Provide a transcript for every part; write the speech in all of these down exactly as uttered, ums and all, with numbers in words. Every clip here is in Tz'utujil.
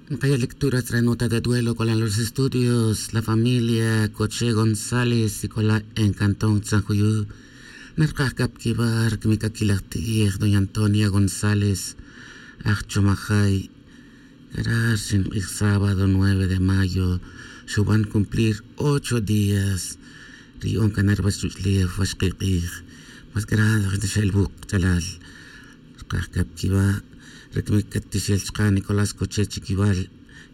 Nkaya' lectura tzre nota de duelo k'ola los estudios la familia Coche González y k'ola en cantón Tzanjuyu. Narkaj k'a pa kiwa' rikmik k'a kilaj ti'ij doña Antonia González, aj Chomajay. K'ara' rixin q'ij sábado nueve de mayo xuban cumplir ocho días ri yu'on k'a na ruwach ruch'ulef waxqi' q'ij. Mas k'ara' xa el wuq' ch'alal. Rkaj k'a pa kiwa' rikmik k'a tixel chka' Nicolás Coche Chiquival,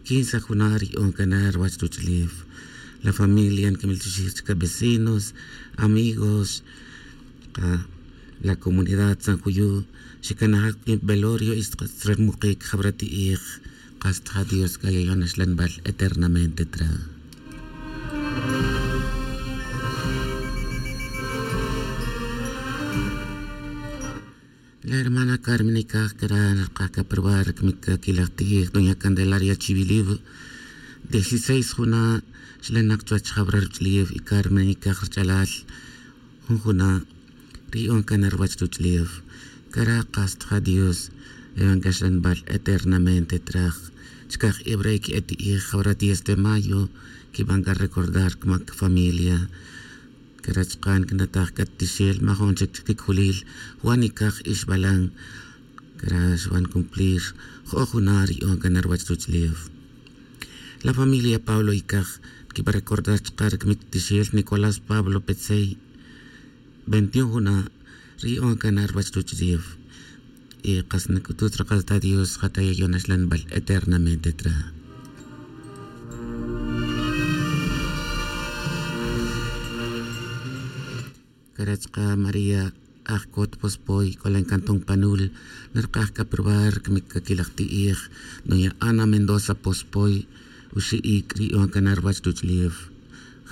quince juna' ri yu'on k'a na ruwach ruch'ulef. La familia nkimil chuxij chka' vecinos, amigos, k'a la comunidad Tzanjuyu, xikanaj k'in velorio y xtqatzrermuqik jawra ti'ij. Qas tja Dios k'a yayon axlanbal eternamente tra. La hermana Carmen Icaj k'ara' narkaj k'a pa ruwa' rikmik k'a kilaj ti'ij doña Candelaria Chiwiliw. Dieciséis juna' xlanak chuwach jawra ruch'ulef y Carmen Icaj rich'alal jun juna' ri yu'on k'a na ruwach ruch'ulef. K'ara' qas tja Dios yayon k'a axlanbal eternamente tra. Chka' eb' re' ke'e ti'ij jawra diez de mayo kiban k'a recordar k'amak familia. K'ara' chka' nkinataj k'a tixel majun chik chikikjulil Juan Icaj Ixbalan. K'ara' xuban cumplir jo'oj juna' ri yu'on k'a na ruwach ruch'ulef. La familia Pablo Icaj nkiba recordar chka' rikmik tixel Nicolás Pablo Petzey, veintiún juna' ri yu'on k'a na ruwach ruch'ulef. Y qas nk'utut raqal ta Dios ja ta yayon axlanbal eternamente tra. K'ara' chka' María Ajcot Pospoy k'ola en cantón Panul, narkaj k'a pa ruwa' rikmik k'a kilaj ti'ij doña Ana Mendoza Pospoy, uxi' iik' ri yu'on k'a na ruwach ruch'ulef.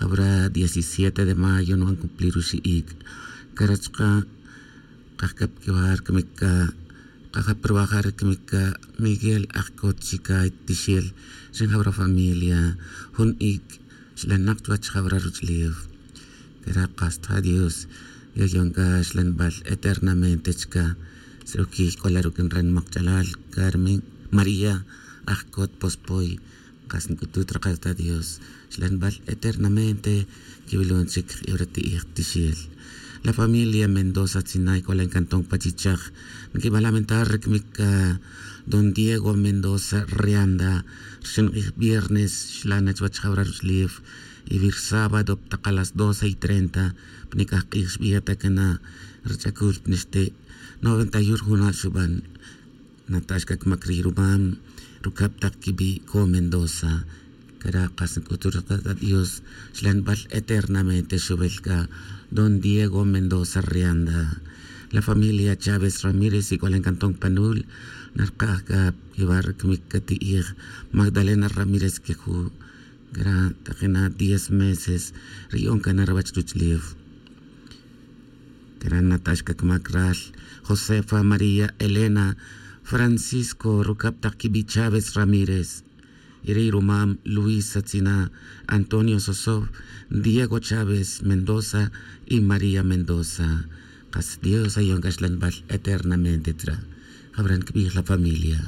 Jawra diecisiete de mayo nuban cumplir uxi' iik'. K'ara' chka' Qaj k'a pa kiwa' rikmik k'a, qaj k'a pa ruwa' ja rikmik k'a Miguel Ajcot Chicay Tixel, ri jawra familia, jun iik' xlanak chuwach jawra ruch'ulef. K'ara' qas tja Dios yayon k'a xlanbal eternamente chka. Srukiy k'ola ruk' nranimaq ch'alal Carmen María Ajcot Pospoy. Qas nk'utut raqal ta Dios xlanbal eternamente. Kiwilon chik jibra ti'ij tixel. La familia Mendoza Tzinay k'ola en cantón Pachichaj, nkiba lamentar rikmik k'a don Diego Mendoza Rianda. Rixin q'ij viernes xlana chuwach jawra ruch'ulef, y wir sábado pa taq a las doce y treinta pa nik'aj q'ij xb'iyata k'a na rich'akul pa nixti'. Noventa y un juna' xuban. Natax k'a k'amak ri' rumam rukab' taq kiwi' ko Mendoza. K'ara' qas nk'utut raqal ta Dios xlanbal eternamente xuwil k'a don Diego Mendoza Rianda. La familia Chávez Ramírez ik'olan cantón Panul narkaj k'a kiwa' rikmik k'a ti'ij Magdalena Ramírez Quejú. K'ara' taqina diez meses ri yu'on k'a na ruwach ruch'ulef. K'ara' natax k'a k'amak ral Josefa María Elena Francisco rukab' taq kiwi' Chávez Ramírez. Y ri' rumam Luisa Tzina, Antonio Sosov, Diego Chávez Mendoza y María Mendoza. Qas Dios ayon k'a xlanbal eternamente tra. Jab'ran kib'ij la familia.